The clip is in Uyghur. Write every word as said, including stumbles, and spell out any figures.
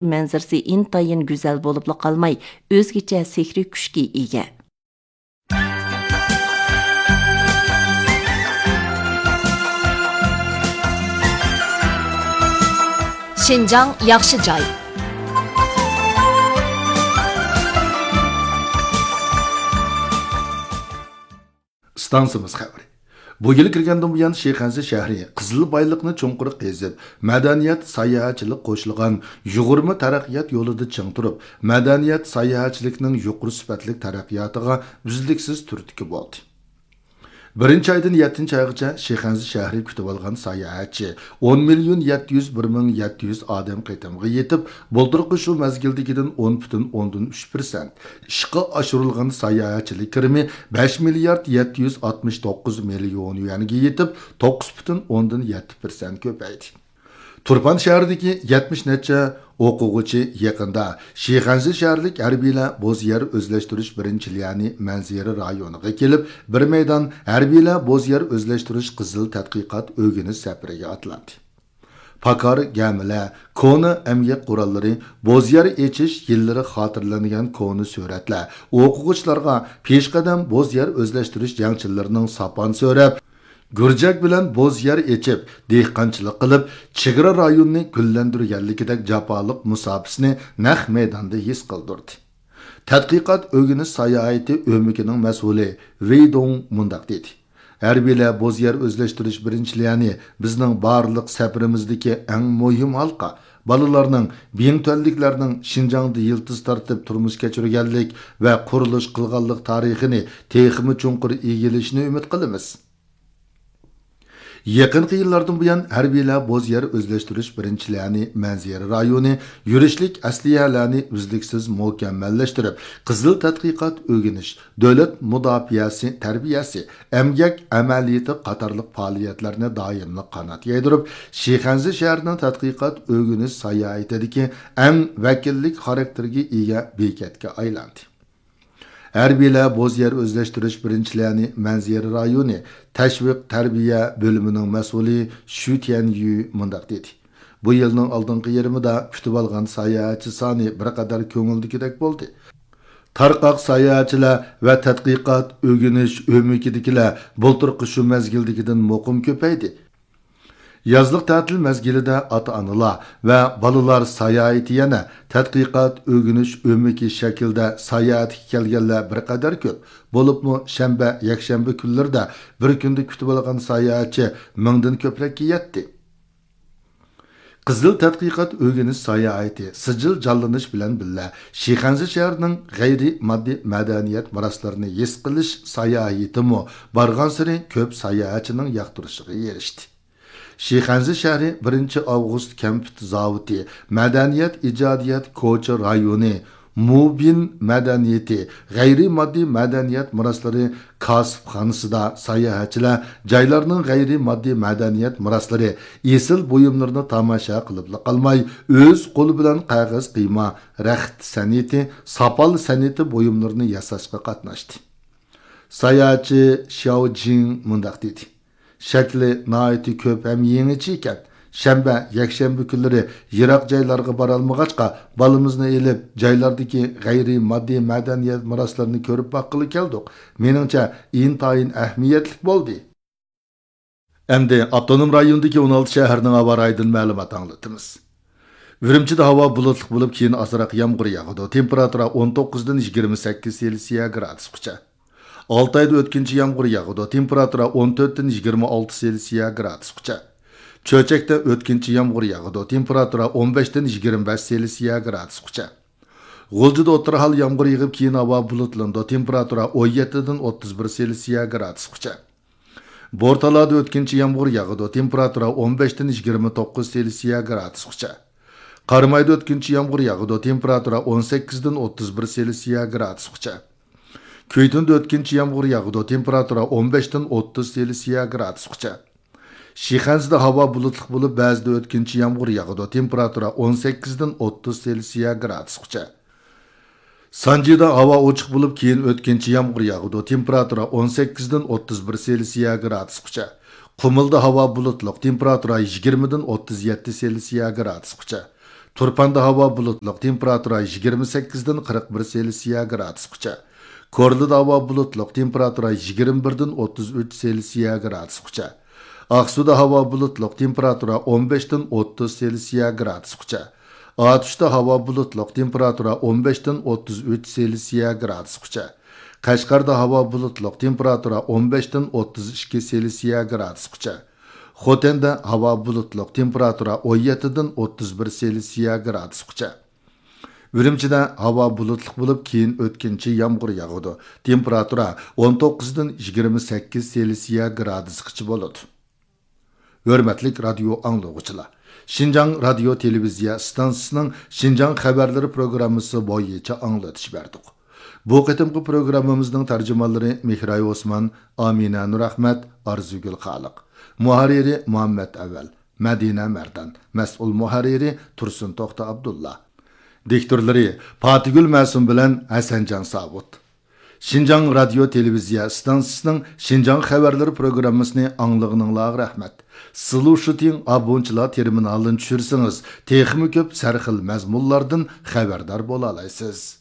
مەنزىرىسى ئىنتايىن گۈزەل بولۇپلا قالماي، ئۆزگىچە سېھرىي كۈچكە ئىگە. شىنجاڭ ياخشى جاي. ئىستانسىمىز خەۋىرى. بۇ يىل كىرگەندىن بۇيان، شىخەنزە شەھىرى قىزىل بايلىقنى چوڭقۇر قېزىپ، مەدەنىيەت، ساياھەتچىلىك قوشۇلغان يۇغۇرما تەرەققىيات يولىدا چىڭ تۇرۇپ، مەدەنىيەت، ساياھەتچىلىكنىڭ يۇقىرى سۈپەتلىك تەرەققىياتىغا ئۈزلۈكسىز تۈرتكە بولدى. بىرىنچى ئايدىن يەتتىنچى ئايغىچە شىخەنزە شەھىرى كۈتۈۋالغان ساياھەتچى ئون مىليون يەتتە يۈز بىر مىڭ يەتتە يۈز ئادەم قېتىمغا يېتىپ، بۇلتۇرقى شۇ مەزگىلدىكىدىن ئون پۈتۈن ئوندىن ئۈچ پىرسەنت، ئىشقا ئاشۇرۇلغان ساياھەتچىلىك كىرىمى بەش مىليارد يەتتە يۈز ئاتمىش توققۇز مىليون يۈەنگە يېتىپ، توققۇز پۈتۈن ئوندىن يەتتە پىرسەنت كۆپەيدى. تۇرپان شەھىرىدىكى يەتمىش نەچچە ئوقۇغۇچى يېقىندا شىخەنزە شەھەرلىك ھەربىيلەر بوز يەر ئۆزلەشتۈرۈش بىرىنچى ليەنى مەنزىرە رايونىغا كېلىپ، بىر مەيدان ھەربىيلەر بوز يەر ئۆزلەشتۈرۈش قىزىل تەتقىقات ئۆگىنىش سەپىرىگە ئاتلاندى. پاكار گەمىلەر، كونا ئەمگەك قوراللىرى، بوز يەر ئېچىش يىللىرى خاتىرىلەنگەن كونا سۈرەتلەر ئوقۇغۇچىلارغا پېشقەدەم بوز يەر ئۆزلەشتۈرۈش جەڭچىلىرىنىڭ ساپان سۆرەپ، گۈرجەك بىلەن بوز يەر ئېچىپ، دېھقانچىلىق قىلىپ، چېگرا رايونىنى گۈللەندۈرگەنلىكىدەك جاپالىق مۇساپىسىنى نەق مەيداندا ھېس قىلدۇردى. تەتقىقات ئۆگىنىش ساياھىتى ئۆمىكىنىڭ مەسئۇلى ۋېي دۇڭ مۇنداق دېدى: ھەربىيلەر بوز يەر ئۆزلەشتۈرۈش بىرىنچى ليەنى بىزنىڭ بارلىق سەپىرىمىزدىكى ئەڭ مۇھىم ھالقا. بالىلارنىڭ، بىڭتۈەنلىكلەرنىڭ شىنجاڭدا يىلتىز تارتىپ تۇرمۇش كەچۈرگەنلىك ۋە قۇرۇلۇش قىلغانلىق تارىخىنى تېخىمۇ چوڭقۇر ئىگىلىشىنى ئۈمىد قىلىمىز. يېقىنقى يىللاردىن بۇيان، ھەربىيلەر بوز يەر ئۆزلەشتۈرۈش بىرىنچى ليەنى مەنزىرە رايونى يۈرۈشلۈك ئەسلىھەلەرنى ئۈزلۈكسىز مۇكەممەللەشتۈرۈپ، قىزىل تەتقىقات ئۆگىنىش، دۆلەت مۇداپىئەسى تەربىيەسى، ئەمگەك ئەمەلىيىتى قاتارلىق پائالىيەتلەرنى دائىملىق قانات يايدۇرۇپ، شىخەنزە شەھىرىنىڭ تەتقىقات ئۆگىنىش ساياھىتىدىكى ئەڭ ۋەكىللىك خاراكتېرگە ئىگە بېكەتكە ئايلاندى. ھەربىيلەر بوز يەر ئۆزلەشتۈرۈش بىرىنچى ليەنى مەنزىرە رايونى تەشۋىق تەربىيە بۆلۈمىنىڭ مەسئۇلى شۈ تيەنيۈ مۇنداق دېدى: بۇ يىلنىڭ ئالدىنقى يېرىمىدا كۈتۈۋالغان ساياھەتچى سانى بىر قەدەر كۆڭۈلدىكىدەك بولدى. تارقاق ساياھەتچىلەر ۋە تەتقىقات، ئۆگىنىش ئۆمىكىدىكىلەر بۇلتۇرقى شۇ مەزگىلدىكىدىن مۇقىم كۆپەيدى. يازلىق تەتىل مەزگىلىدە ئاتا-ئانىلار ۋە بالىلار ساياھىتى يەنە تەتقىقات، ئۆگىنىش ئۆمىكى شەكلىدە ساياھەتكە كەلگەنلەر بىر قەدەر كۆپ. بولۇپمۇ شەنبە، يەكشەنبە كۈنلىرىدە بىر كۈندە كۈتۈۋالغان ساياھەتچى مىڭدىن كۆپرەككە يەتتى. قىزىل تەتقىقات ئۆگىنىش ساياھىتى سىجىل جانلىنىش بىلەن بىللە، شىخەنزە شەھىرىنىڭ غەيرىي ماددىي مەدەنىيەت مىراسلىرىنى ھېس قىلىش ساياھىتىمۇ بارغانسېرى كۆپ ساياھەتچىنىڭ ياقتۇرۇشىغا ئېرىشتى. شىخەنزە شەھىرى بىرىنچى ئاۋغۇست كەمپۈت زاۋۇتى، مەدەنىيەت ئىجادىيەت كوچا رايونى، مۇبىن مەدەنىيىتى، غەيرىي ماددىي مەدەنىيەت مىراسلىرى كاسىپخانىسىدا ساياھەتچىلەر جايلارنىڭ غەيرىي ماددىي مەدەنىيەت مىراسلىرى، ئېسىل بۇيۇملىرىنى تاماشا قىلىپلا قالماي، ئۆز قولى بىلەن قەغەز قىيما، رەخت سەنئىتى، ساپال سەنئىتى بۇيۇملىرىنى ياساشقا قاتناشتى. ساياھەتچى شياۋ جىڭ مۇنداق دېدى: شەكلى ناھايىتى كۆپ ھەم يېڭىچە ئىكەن. شەنبە، يەكشەنبە كۈنلىرى يىراق جايلارغا بارالمىغاچقا، بالىمىزنى ئېلىپ، جايلاردىكى غەيرىي ماددىي مەدەنىيەت مىراسلىرىنى كۆرۈپ باققىلى كەلدۇق. مېنىڭچە، ئىنتايىن ئەھمىيەتلىك بولدى. ئەمدى ئاپتونوم رايوندىكى ئون ئالتە شەھەرنىڭ ھاۋا رايىدىن مەلۇمات ئاڭلىتىمىز. ئۈرۈمچىدە ھاۋا بۇلۇتلۇق بولۇپ، كېيىن ئازراق يامغۇر ياغىدۇ. تېمپېراتۇرا ئون توققۇزدىن يىگىرمە سەككىز سېلسىيە گرادۇسقىچە. ئالتايدا ئۆتكۈنچى يامغۇر ياغىدۇ. تېمپېراتۇرا ئون تۆتتىن يىگىرمە ئالتە سېلسىيە گرادۇسقىچە. چۆچەكتە ئۆتكۈنچى يامغۇر ياغىدۇ. تېمپېراتۇرا ئون بەشتىن يىگىرمە بەش سېلسىيە گرادۇسقىچە. غۇلجىدا ئوتتۇرا ھال يامغۇر يېغىپ، كېيىن ھاۋا بۇلۇتلىنىدۇ. تېمپېراتۇرا ئون يەتتىدىن ئوتتۇز بىر سېلسىيە گرادۇسقىچە. بورتالادا ئۆتكۈنچى يامغۇر ياغىدۇ. تېمپېراتۇرا ئون بەشتىن يىگىرمە توققۇز سېلسىيە گرادۇسقىچە. قارامايدا ئۆتكۈنچى يامغۇر ياغىدۇ. تېمپېراتۇرا ئون سەككىزدىن ئوتتۇز بىر سېلسىيە گرادۇسقىچە. كۈيتۇندا ئۆتكۈنچى يامغۇر ياغىدۇ. تېمپېراتۇرا ئون بەشتىن ئوتتۇز سېلسىيە گرادۇسقىچە. شىخەنزىدە ھاۋا بۇلۇتلۇق بولۇپ، بەزىدە ئۆتكۈنچى يامغۇر ياغىدۇ. تېمپېراتۇرا ئون سەككىزدىن ئوتتۇز سېلسىيە گرادۇسقىچە. سانجىدا ھاۋا ئوچۇق بولۇپ، كېيىن ئۆتكۈنچى يامغۇر ياغىدۇ. تېمپېراتۇرا ئون سەككىزدىن ئوتتۇز بىر سېلسىيە گرادۇسقىچە. قۇمۇلدا ھاۋا بۇلۇتلۇق، تېمپېراتۇرا يىگىرمىدىن ئوتتۇز يەتتە سېلسىيە گرادۇسقىچە. تۇرپاندا ھاۋا بۇلۇتلۇق، تېمپېراتۇرا يىگىرمە سەككىزدىن قىرىق بىر سېلسىيە گرادۇسقىچە. كورلىدا ھاۋا بۇلۇتلۇق، تېمپېراتۇرا يىگىرمە بىردىن ئوتتۇز ئۈچ سېلسىيە گرادۇسقىچە. ئاقسۇدا ھاۋا بۇلۇتلۇق، تېمپېراتۇرا ئون بەشتىن ئوتتۇز سېلسىيە گرادۇسقىچە. ئاتۇشتا ھاۋا بۇلۇتلۇق، تېمپېراتۇرا ئون بەشتىن ئوتتۇز ئۈچ سېلسىيە گرادۇسقىچە. قەشقەردە ھاۋا بۇلۇتلۇق، تېمپېراتۇرا ئون بەشتىن ئوتتۇز ئىككى سېلسىيە گرادۇسقىچە. خوتەندە ھاۋا بۇلۇتلۇق، تېمپېراتۇرا ئون يەتتىدىن ئوتتۇز بىر سېلسىيە گرادۇسقىچە. ئۈرۈمچىدە ھاۋا بۇلۇتلۇق بولۇپ، كېيىن ئۆتكۈنچى يامغۇر ياغىدۇ. تېمپېراتۇرا ئون توققۇزدىن يىگىرمە سەككىز سېلسىيە گرادۇسقىچە بولىدۇ. ھۆرمەتلىك رادىيو ئاڭلىغۇچىلار! شىنجاڭ رادىيو تېلېۋىزىيە ئىستانسىسىنىڭ شىنجاڭ خەۋەرلىرى پروگراممىسى بويىچە ئاڭلىتىش بەردۇق. بۇ قېتىمقى پروگراممىمىزنىڭ تەرجىمانلىرى مېھراي ئوسمان، ئامىنە نۇرئەخمەت، ئارزۇگۈل خالىق. مۇھەررىرى مۇھەممەت ئەۋەل، مەدىنە مەردان. مەسئۇل مۇھەررىرى تۇرسۇن توختى ئابدۇللا. دىكتورلىرى پاتىگۈل مەسۇم بىلەن ھەسەنجان ساۋۇت. شىنجاڭ رادىيو تېلېۋىزىيە ئىستانسىسىنىڭ شىنجاڭ خەۋەرلىرى پروگراممىسىنى ئاڭلىغىنىڭلارغا رەھمەت. سلۇشىتىڭ ئابونچىلار تېرمىنالىنى چۈشۈرسىڭىز، تېخىمۇ كۆپ سەرخىل مەزمۇنلاردىن خەۋەردار بولالايسىز.